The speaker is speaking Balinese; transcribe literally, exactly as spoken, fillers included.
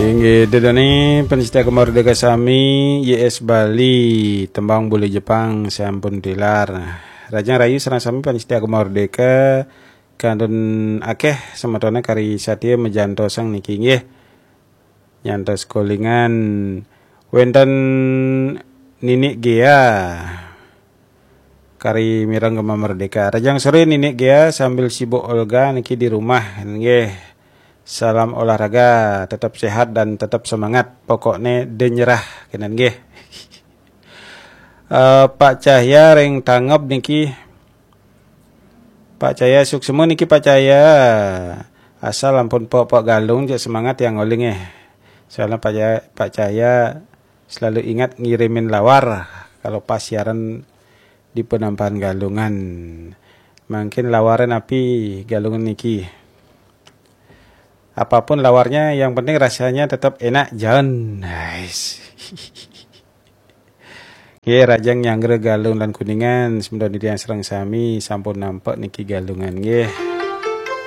Inggih, dedone pencinta Gema Merdeka sami, Y S Bali, tembang bule Jepang sampun tilar. Rajang rahayu sareng sami pencinta Gema Merdeka, kantun akeh semetone kari satia majantosang niki nggih. Nyantos kolingan wenten Ninik Gea. Kari mireng Gema Merdeka. Rajang sore Ninik Gea sambil sibuk olahraga niki di rumah nggih. Salam olahraga, tetap sehat dan tetap semangat. Pokokne de nyerah kenen nggih. Eh, Pak Cahya ring Tangeb niki. Pak Cahya suksma niki Pak Cahya. Asal ampun pok-pok galung, cek semangat yang oling eh. Soalnya Pak Cahya, Pak Cahya selalu ingat ngirimin lawar kalau pas siaran di penampahan galungan. Mungkin lawaran api galungan niki. Apapun lawarnya, yang penting rasanya tetap enak, John. Nice. Nggih, rajang nyanggra galung lan kuningan, semeton titiang sareng sami sampun nampak niki galungan nggih.